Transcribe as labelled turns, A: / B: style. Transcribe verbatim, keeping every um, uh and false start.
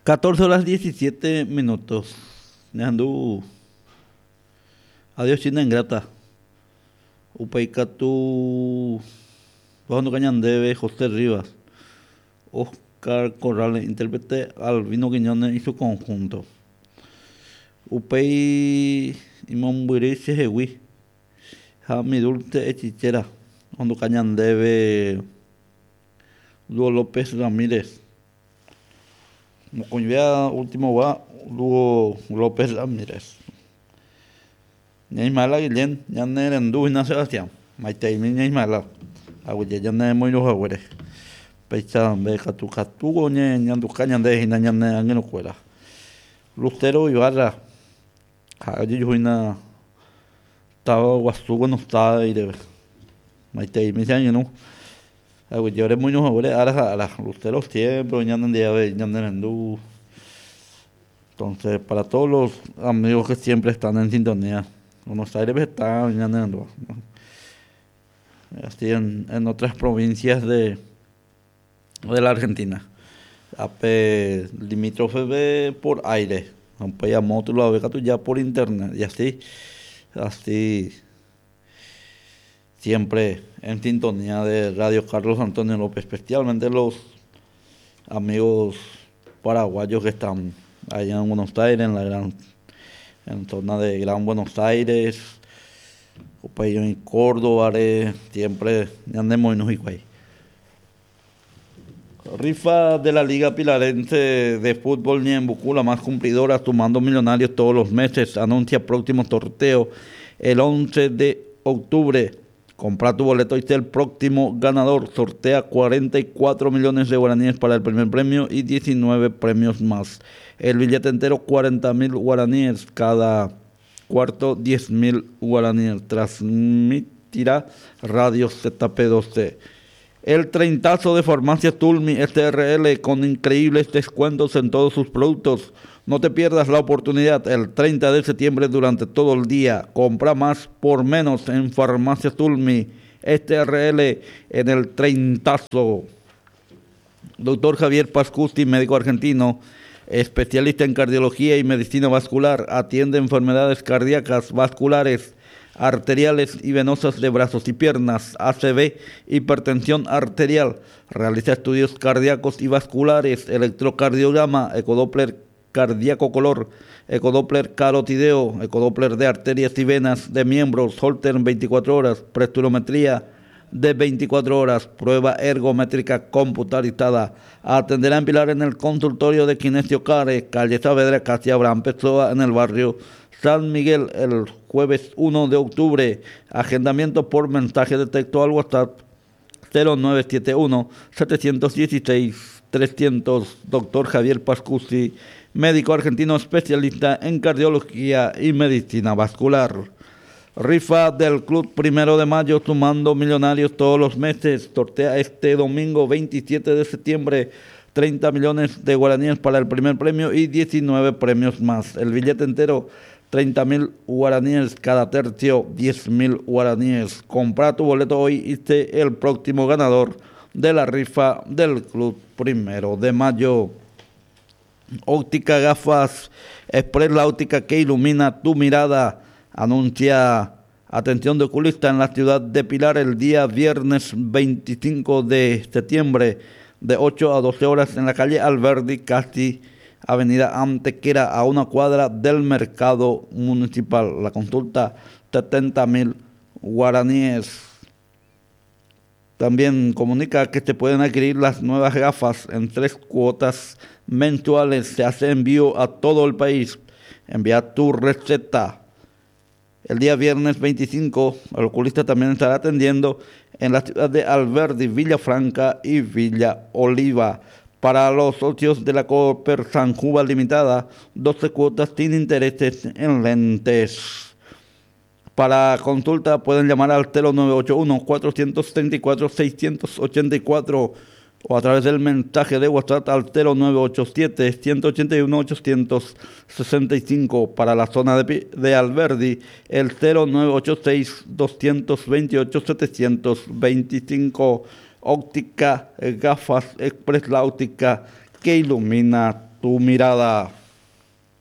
A: catorce horas diecisiete minutos. Ñahendu Adiós China Ingrata. Upéi katu ohenduka ñandéve José Rivas, Oscar Corrales, intérprete Albino Quiñones y su conjunto. Upéi imombyry chehegui ha Mi dulce hechicera ohenduka ñandéve Dúo López Ramírez. Mokõivéva último-gua Dúo López Ramírez. Ña Ismaela Guillén ñane rendu hína Sebastián. Maiteimi Ña Ismaela. Aguyje ñane moirũhaguére. Péicha nde katu katu ñanduka ñande hína ñane angirũkuéra. Lucero Ibarra ha'e ojejuhu hína táva guasu Buenos Aires. Maiteimi che angirũ. Aguyje oremoirũhaguére ára ha ára. Lucero siempre ñanendive ñane rendu. Entonces, para todos los amigos que siempre están en sintonía, Buenos Aires está ñane rendu. Así en, en otras provincias de, de la Argentina. Ape limítrofe por aire. Ape amo katu ya por internet. Y así, así, siempre en sintonía de Radio Carlos Antonio López, especialmente los amigos paraguayos que están allá en Buenos Aires, en la gran, en zona de Gran Buenos Aires, en Córdoba, siempre andemos en. Rifa de la Liga Pilarense de Fútbol Ñeembucú, la más cumplidora, sumando millonarios todos los meses. Anuncia próximo sorteo el once de octubre. Compra tu boleto y sé el próximo ganador. Sortea cuarenta y cuatro millones de guaraníes para el primer premio y diecinueve premios más. El billete entero cuarenta mil guaraníes, cada cuarto diez mil guaraníes. Transmitirá Radio Z P doce. El treintazo de Farmacia Tulmi S R L con increíbles descuentos en todos sus productos. No te pierdas la oportunidad el treinta de septiembre durante todo el día. Compra más por menos en Farmacia Tulmi S R L en el treintazo. Doctor Javier Pascusti, médico argentino, especialista en cardiología y medicina vascular, atiende enfermedades cardíacas, vasculares, arteriales y venosas de brazos y piernas, A C V, hipertensión arterial. Realiza estudios cardíacos y vasculares, electrocardiograma, ecodoppler cardíaco color, ecodoppler carotideo, ecodoppler de arterias y venas de miembros, Holter en veinticuatro horas, presturometría de veinticuatro horas, prueba ergométrica computarizada. Atenderá en Pilar en el consultorio de Kinesio Care, calle Saavedra, casi Abraham Pessoa, en el barrio San Miguel, el jueves uno de octubre. Agendamiento por mensaje de texto al WhatsApp cero nueve siete uno setecientos dieciséis trescientos. Doctor Javier Pascucci, médico argentino especialista en cardiología y medicina vascular. Rifa del Club Primero de Mayo sumando millonarios todos los meses. Sortea este domingo veintisiete de septiembre treinta millones de guaraníes para el primer premio y diecinueve premios más. El billete entero treinta mil guaraníes, cada tercio diez mil guaraníes. Compra tu boleto hoy y sé el próximo ganador de la rifa del Club Primero de Mayo. Óptica Gafas Express, la óptica que ilumina tu mirada. Anuncia atención de oculista en la ciudad de Pilar el día viernes veinticinco de septiembre de ocho a doce horas en la calle Alberdi, casi avenida Antequera, a una cuadra del mercado municipal. La consulta setenta mil guaraníes. También comunica que se pueden adquirir las nuevas gafas en tres cuotas mensuales. Se hace envío a todo el país. Envía tu receta. El día viernes veinticinco, el oculista también estará atendiendo en la ciudad de Alberdi, Villa Franca y Villa Oliva. Para los socios de la Cooper San Juan Limitada, doce cuotas sin intereses en lentes. Para consulta pueden llamar al cero nueve ocho uno, cuatrocientos treinta y cuatro, seiscientos ochenta y cuatro o a través del mensaje de WhatsApp al cero nueve ocho siete, ciento ochenta y uno, ochocientos sesenta y cinco. Para la zona de, de Alberdi, el cero nueve ocho seis, doscientos veintiocho, setecientos veinticinco. Óptica, gafas Express, la óptica que ilumina Tu mirada.